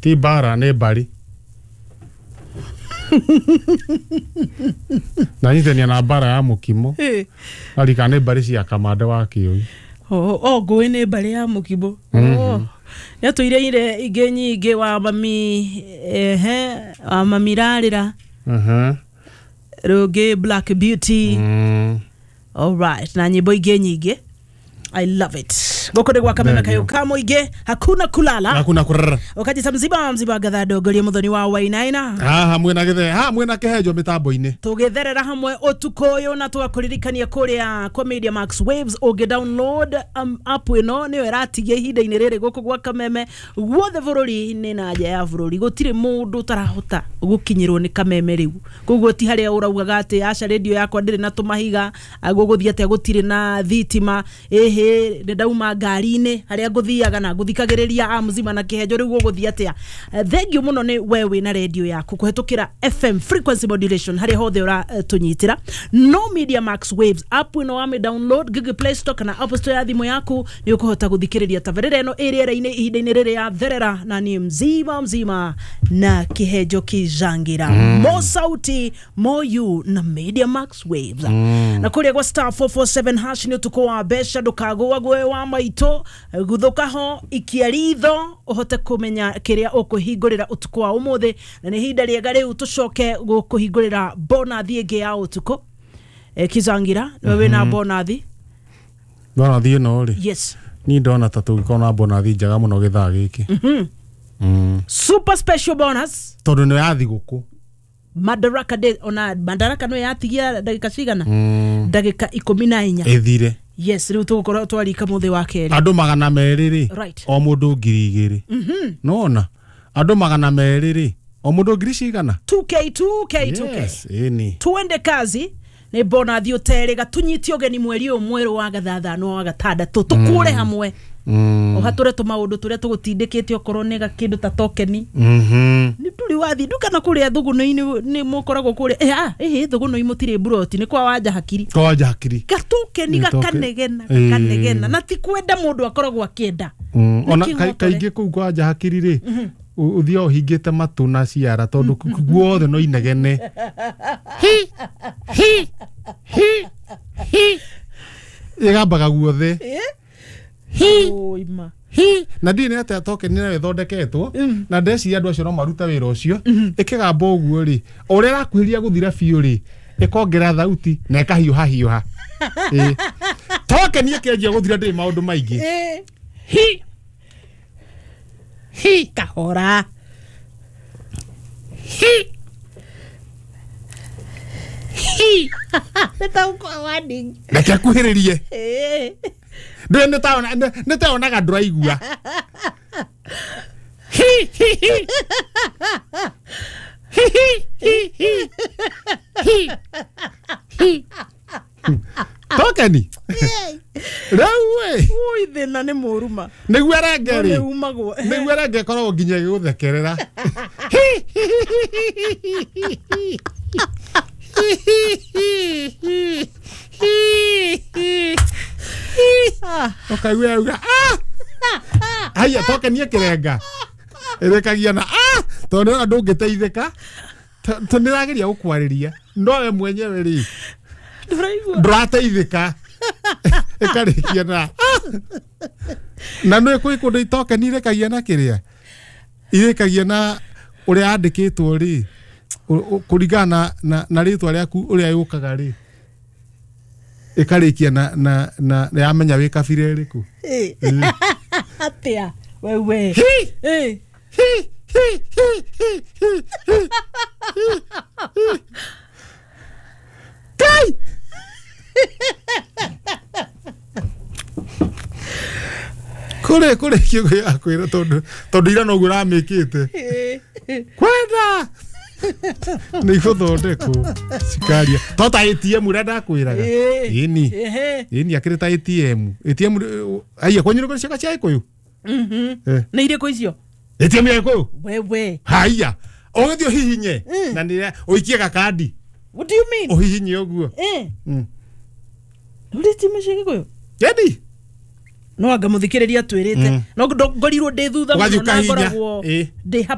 Ti mbara nĩ mbari. Na nyitania na mbara ya mũkimo. Arika nĩ mbari cia kamande wa kĩũi. O ngũĩ nĩ mbarĩ ya mũkimo. Nĩatũire ire ingĩ nyingĩ wa mami, ehe, wa mami rarĩra. Rũngĩ Black Beauty. All right, na nyĩmbo ingĩ nyingĩ. I love it. Gũkũ nĩ gwa Kameme Thank you. Kayũ ka mũingĩ, hakuna kulala. Hakuna kurara. Ũkajita mzima mzima ngatha ndongoria mũthoni wa Wainaina. Haha mwĩna gĩthe, haha mwĩna kĩhenjo mĩtambo-inĩ. Tũgĩtherera hamwe ũtukũ ũyũ na tũgakũririkania kũrĩa kwa Media Max Waves ũngĩ download app ĩno nĩyo ĩratigia ihinda-inĩ rĩrĩ gũkũ gwa Kameme guothe bũrũri-inĩ na nja ya bũrũri gũtirĩ mũndũ ũtarahota gũkinyĩrwo nĩ Kameme rĩu. Koguo ti harĩa ũraugaga atĩ aca radio yakwa ndĩrĩ na tũmahiga, gũgũthiĩ atĩa gũtirĩ na thitima, ĩhĩ nĩ ndauma ngari-inĩ harĩa ngũthiaga na ngũthikagĩrĩria a mzima na kĩhenjo rĩu gũgũthiĩ atĩa. Thengiũ mũno nĩ we wĩna radio yaku kũhetũkĩra FM frequency modulation harĩa hothe ũratũnyitĩra. No Media Max Waves app ĩno wamĩ download Google Play Store kana App Store ya thimũ yaku nĩ ũkũhota gũthikĩrĩria tabarĩra ĩno ĩ rĩera-inĩ ihinda-inĩ rĩrĩ ya therera na niĩ mzima mzima na kĩhenjo kĩjangira. Mo sauti mo you na Media Max Waves. Na kũrĩa gwa star 447 hash nĩ ũtukũ wa mbeca ndũkagũagũe wa maitũ guthũka ho ikia ritho ũhote kũmenya kĩrĩa ũkũhingũrĩra ũtukũ wa ũmũthĩ na nĩ ihinda rĩega rĩu tũcoke gũkũhingũrĩra bonathi ĩngĩ ya ũtukũ. Kizangira nĩwe wĩna bonathi. Bonathi ĩno rĩ. Yes. Niĩ ndona ta tũngĩkorwo na bonathi njega mũno gĩthaa gĩkĩ. Super special bonus. Tondũ nĩ ya thigũkũ. Madaraka Day, ona Madaraka no yatigia ndagĩka cigana? Ndagĩka 14. Ĩthire. Yes, rĩu tũgũkorwo twarika mũthĩ wa kerĩ. Andũ 200 rĩ. Right. O mũndũ 2,000. Nona andũ 200 rĩ. O mũndũ ngiri cigana? 2K 2K 2K. Yes, ĩni. Tuende kazi nĩ bonathi ũterĩga tũnyite ũgeni mweri ũyũ mwerũ wa gathathano wa gatandatũ tũkũre hamwe. Ũhatũre tũmaũndũ tũrĩa tũgũtindĩkĩte okorwo nĩ gakĩndũ ta tokeni. Nĩ ndũrĩ wathiĩ nduka na kũrĩa thũgũnũ-inĩ nĩ mũkoragwo kũrĩa. Ĩhĩ thũgũnũ-inĩ mũtirĩ mburoti nĩ kwa wanja hakiri. Kwa wanja hakiri. Gatokeni gakanegena gakanegena na ti kwenda mũndũ akoragwo akĩenda. Ona kaingĩ kũu kwa wanja hakiri rĩ ũthiaga ũhingĩte matũ na ciara tondũ guothe no inegene. Hi hi hi hi. Ĩgambaga guothe. Hi. Oima. Hi. Na ndiĩ nĩ atĩa tokeni nayo ĩthondeketwo na ndeciria andũ acio no maruta wĩra ũcio ĩkĩgamba ũguo rĩ o ũrĩa ĩrakuhĩrĩria gũthira biũ rĩ ĩkongerera thauti na ĩkahiũha hiũha. Tokeni ĩkĩanjia gũthira ndĩrĩ maũndũ maingĩ. Hi. Hi. Kahora. Hi. Hi. Reke akuhĩrĩrie. Ndũĩ nĩ taonaga ndũraigua. Hi hi hi. Hi hi hi hi. Hi. Tokeni. Rĩu ĩ. Ui thĩna nĩ mũru ma. Nĩguo erenge rĩ. Nĩ umagwo. Nĩguo erenge ĩkoragwo nginya ĩgĩgũthekerera. Hi hi hi hi. Hi hi hi. Ũkaigua yauga haiya tokeni ĩkĩrenga ĩrĩkagia na tondũ nĩwona ndũngĩteithĩka tondũ nĩrageria gũkwarĩria no we mwenyewe rĩ ndũrateithĩka ĩkarĩkia na na nĩ kwĩ kũndũ tokeni irĩkagia na kĩrĩa irĩkagia na ũrĩa yandĩkĩtwo rĩ kũringana na rĩtwa rĩaku ũrĩa yũkaga rĩ ĩkarĩkia na na na yamenya wĩ kabira ĩrĩkũ. Atĩa wewe. Hi hi hi hi hi hi. Kai. Kũrĩ kũrĩ kiugo ya kwĩra tondũ tondũ ira noguo ũramĩkĩte. Kwenda nĩ igũthondekwo cikaria to ta ATM ũrĩa ndakwĩraga. Ĩni ĩni akĩrĩ ta ATM ATM haiya kwanyu nĩ kũrĩ cia Gĩkũyũ. Nĩ irĩkũ icio? ATM ya Gĩkũyũ. Wewe. Haiya ũgĩthiĩ ũhihinye na nĩ ũikie gakandi. What do you mean? Ũhihinye ũguo. Nĩ ATM cia Gĩkũyũ? Ĩni. No anga mũthikĩrĩria twĩrĩte no ngorirwo ndĩ thutha Ũgathiĩ mũno na ũkahihinya. ngoragwo Ĩ. ndĩ.